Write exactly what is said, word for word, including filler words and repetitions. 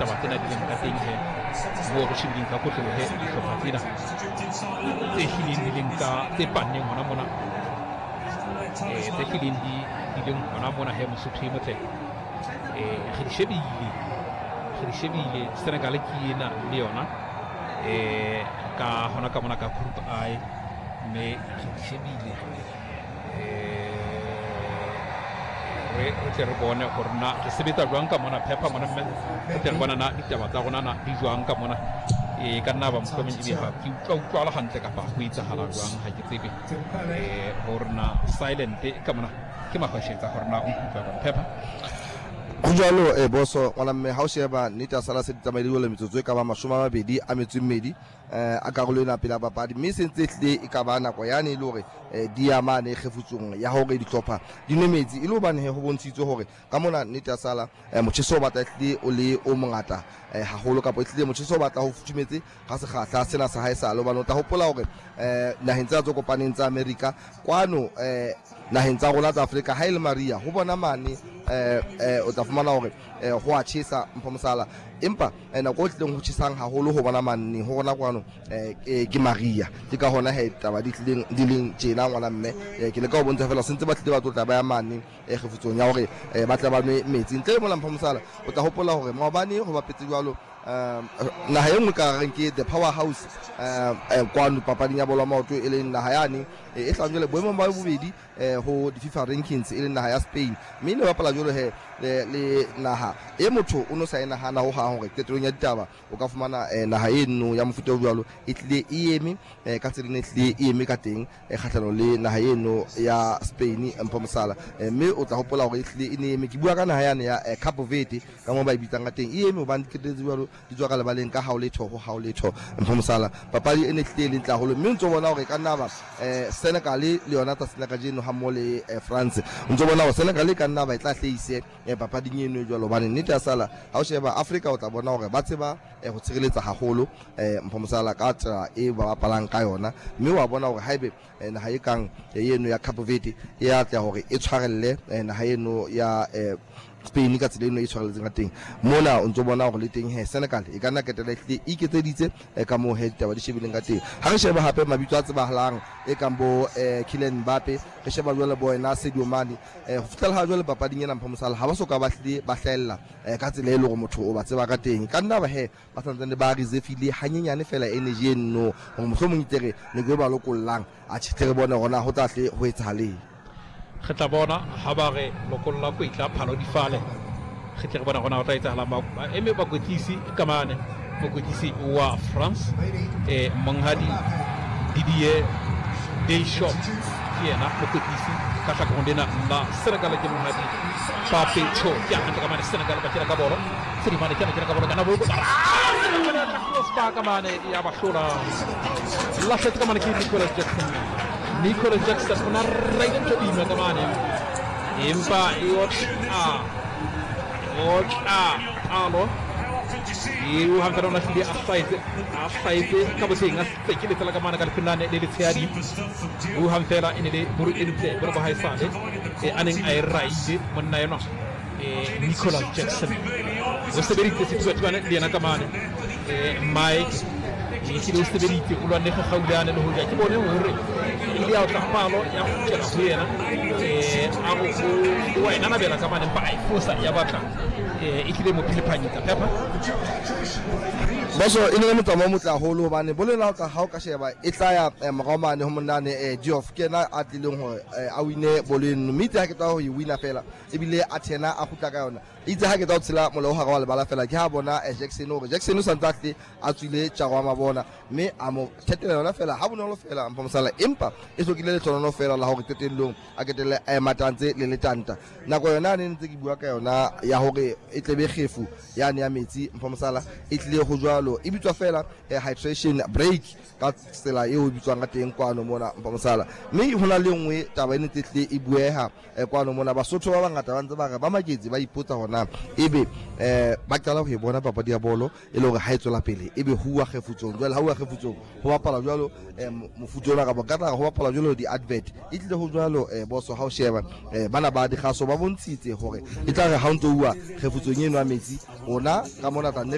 Taba tsena di leng ka teng he moo re shebileng ka kotloloho he dihlopha tsena tse hlileng di leng ka tse panneng hona mona, eh tse hlileng di di leng hona mona he Mosotho e motle. eh re di shebile re di shebile Senegal ke ena le yona eh ka hona ka mona ka Group I, mme re di shebile eh re re tle re bone hore na re sebetsa jwang ka mona phepha mona, mme re tle re bona na ditaba tsa rona na di jwang ka mona. E ka nna ba mohlomong ebe ha ke utlwa utlwala hantle kapa ho etsahala jwang, ha ke tsebe eh hore na silent ka mona ke mahwashetsa hore na o nkutlwa jwang phepha. Ho jwalo eh boso ngwana mme, ha o sheba nnete ya sala se di tsamaile jwale metsotso e ka ba mashome a mabedi a metso e mmedi eh a karolo ena pele a papadi, mme se ntse ehlile e ka ba nako yane e le hore eh di ya mane kgefutsong ya hore dihlopha di nwe metsi, e le hobane he ho bontshitswe hore ka mona nnete ya sala eh motjheso o batla ehlile o le o mongata eh haholo, kapa ehlile motjheso o batla ho futhumetse ga sekgahla sena sa hae sale, hobane o tla hopola hore eh naheng tsena tse kopaneng tsa Amerika kwano eh naheng tsa rona tsa Afrika ha e le Maria ho bona mane eh eh o tla fumana hore eh ho a tjhesa mpho mosala, empa eh nako e tlileng ho tjhesang haholo ho bona manne ho rona kwano eh ke Maria. Ke ka hona he taba di tlileng di leng tjena ngwana mme, ke leka ho bontsha fela sentse ba tlile ba tlotla ba ya mane eh kgefutsong ya hore ba tla ba nwe metsi. Ntle le mona mpho mosala, o tla hopola hore maobane ho bapetse jwalo um naha e nngwe ka reng ke the power house um kwano papading ya bolo ya maoto, e leng naha yane e hlahang jwale boemong ba bobedi eh ho di-FIFA rankings, e leng naha ya Spain, mme ne bapala jwalo he le, le naha e motho o no sa e nahana ho hang hore qetellong ya ditaba o ka fumana eh, naha eno ya mofuta o jwalo e tlile e eme eh, ka tsela e tlile e eme ka teng eh, kgahlanong le naha eno ya Spain mpho mosala. eh, mme o tla hopola hore e tlile e ne eme, ke bua ka naha yane ya eh, Cape Verde ka moo ba e bitsang ka teng, e eme hobane qetelletse jwalo di tswa ka lebaleng ka hao letho ho hao letho mpho mosala. Papadi e ne tlile e le ntle haholo, mme o ntso bona hore ka nna ba eh, Senegal le yona tsatsing la kajeno ha mmoho le eh, France, o ntso bona hore Senegal e ka nna ba e tla hlahise eh, papading eno e jwalo, hobane nnete ya sala ha o sheba Afrika o tla bona hore ba tseba eh, ho tshireletsa haholo eh, mpho mosala ka tsela e ba bapalang ka yona, mme wa bona hore haebe eh, naha e kang eh, eno ya Cape Verde e atleha hore e tshwarelle eh, naha eno ya eh, Spain ka tsela eno e tshwarelletseng ka teng mona, o ntso bona hore le teng he Senegal e ka nna ketela ehlile e iketseditse eh, ka moo he ditaba di shebileng ka teng. Ha re sheba hape mabitso a tsebahalang e kang bo eh, Kylian Mbappe, re sheba jwale bo ena Sadio Mane eh, ho fihlela ha jwale papading ena mpho mosala ha ba soka ba hlile ba hlahella eh, ka tsela e leng hore motho o ba tseba ka teng, ka nna ba he ba santsane ba reservile hanyenyane fela energy eno hore mohlomong itere nako e ba lokollang a tjhe re bone hore na ho tla hle ho etsahaleng. Re tla bona ha ba re lokolla kwetla phalo di fale, re tle re bona hore na ho tla etsahalang. Ba eme bakwetlisi ka mane, mokwetlisi wa France eh monghadi Didier Deschamps ke yena mokwetlisi, ka hlakoreng lena la Senegal ke monghadi Pape Thiaw. Ke hantle ka mane Senegal ba kena ka bolo, Sedimane kena kena ka bolo kana bolo crossbar ka mane ya ba hlola, lahletse ka mane ke Nicolas Jackson. Nicolas Jackson o na raile ntho boima ka mane, empa e otla otla palo eo hang fela o lahlile a hlahetse a hlahetse ka boteng a tsekeletsela ka mane ka lefelane le letshehadi. O hang fela e ne le bolo e ntle bolo ba haesale e a neng a e raile monna enwa eh Nicolas Jackson o sebeditse sethubathubane le yena ka mane eh Mike ehlile o sebeditse o lwanne kgaulane le hoja ke bone hore ile ya otla palo ya kgutlela ho yena eh a go o wa e nanabela ka mane empa a e fosa ya batla eh e tlile mo phelephanyetsa phepha. Boso e ne le motsamao o motle haholo hobane bolo ena ka ha o ka sheba e tla ya eh, morao mane ho monnane eh, Diouf ke yena a tlileng hore eh, a wine bolo eno, mme itse ha ke tla ho e wina fela ebile a thena a kgutla ka yona, itse ha ke tla ho tshela molao hare wa lebala fela ke ha bona eh, Jackson hore Jackson o santse a tle a tswile tjaro wa mabona, mme a mo thetela yona fela ha bonolo fela mpho mosala, empa e hlokile lehlohonololo fela la hore qetellong a ketelle a ematantse le letanta. Nako yona ne ntse ke bua ka yona ya hore e tlebe kgefu yane ya metsi mpho mosala e tlile ho jwalo, e bitswa fela eh, hydration break ka tsela eo e bitswang ka teng kwano mona mpho mosala. Mme ho na le nngwe taba e ne ntse tlile e bueha eh, kwano mona, Basotho ba bangata ba ntse ba re ba maketse ba ipotsa hona ebe eh ba qala ho e bona papadi ya bolo e le hore ha e tswela pele ebe huwa kgefutsong jwale, ha huwa kgefutsong ho bapala jwalo eh, mofuta ona kapa ka tla ho bapala jwalo di-advert e tlile ho jwalo eh, boso ha o sheba eh, bana ba dikgaso ba bontshitse hore e tla re ha o ntso uwa kgefutsong eno ya metsi rona ka mona tla nne